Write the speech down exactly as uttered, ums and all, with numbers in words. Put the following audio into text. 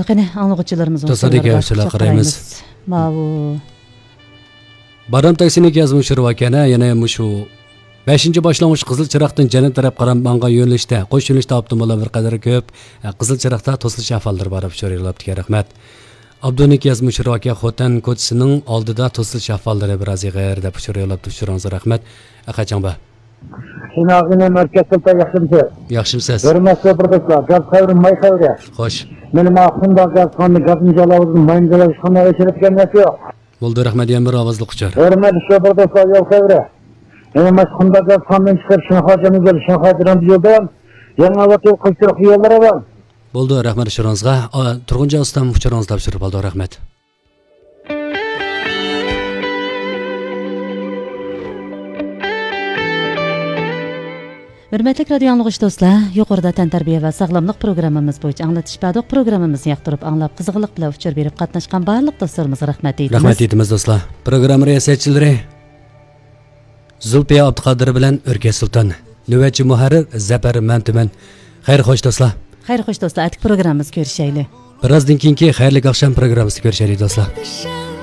قېنى، ئاڭلىغۇچىلىرىمىزنىڭ دوستلاردىكى سوئاللىرىغا ئۇچۇرلار قۇچاق قارايمىز. قارايمىز. ماۋۇ. بارام تاكسىنىڭ يازمىشى بار ئىكەن، يەنە مۇشۇ بەشىنچى باشلانغۇچ قىزىل چىراغدىن جەنۇب تەرەپ قاراپ ماڭغان يۆنىلىشتە، قوش يۆنىلىشتە ئاپتوموبىللار بىر قەدەر كۆپ. قىزىل چىراغدا توسۇلۇش ئەھۋاللىرى بار دەپ ئۇچۇر يوللاپتىكەن، رەھمەت. ئابدۇنىڭ يازمىشى بار ئىكەن، خوتەن كوچىسىنىڭ ئالدىدا توسۇلۇش ئەھۋاللىرى بىراز ئېغىر دەپ ئۇچۇر يوللاپتۇ، ئۇچۇرىڭىزغا رەھمەت. ئەخەچاڭبا. سىناغىنى مەركەز سۇلتان ياخشىمسىز؟ ياخشىمسىز؟ ھۆرمەتلىك تورداشلار، گاز خەۋىرى، ماي خەۋىرى. خوش. مېنى ماقۇمدا گاز خانىنى گازنى جالاۋۇزدىن ماينى جالاۋۇز قانداق ئۆچۈرۈپ كەلمەس يوق. بولدى، رەھمەت، يەنە بىر ئاۋازلىق ئۇچۇر. ھۆرمەتلىك تورداشلار، يول خەۋىرى. مېنى ماقۇمدا گاز خانىدىن چىقىپ شىنخۇا جەنۇبىي، شىنخۇا جەنۇبىي يولدا يېڭى ئاۋات يول قىلىپ يوللار ئاۋام. بولدى، رەھمەت ئۇچۇرىڭىزغا. ئا، تۇرغۇنجان ئۇستام ئۇچۇرىڭىزنى تاپشۇرۇپ ئالدى، رەھمەت. ھۆرمەتلىك رادىيو ئاڭلىغۇچى دوستلار، يۇقىرىدا تەنتەربىيە ۋە ساغلاملىق پروگراممىمىز بويىچە ئاڭلىتىش بەردۇق. پروگراممىمىزنى ياقتۇرۇپ ئاڭلاپ، قىزغىنلىق بىلەن ئۇچۇر بېرىپ قاتناشقان بارلىق دوستلىرىمىزغا رەھمەت ئېيتىمىز. رەھمەت ئېيتىمىز دوستلار. پروگرامما رىياسەتچىلىرى زۇلپىيە ئابدۇقادىر بىلەن ئۆركەش سۇلتان. نۆۋەتچى مۇھەررىر زەپەر مەمتىمىن. خەير خوش دوستلار. خەير خوش دوستلار، ئەتىكى پروگراممىمىزدا كۆرۈشەيلى. بىرازدىن كېيىنكى خەيرلىك ئاخشام پروگراممىسىدا كۆرۈشەيلى دوستلار.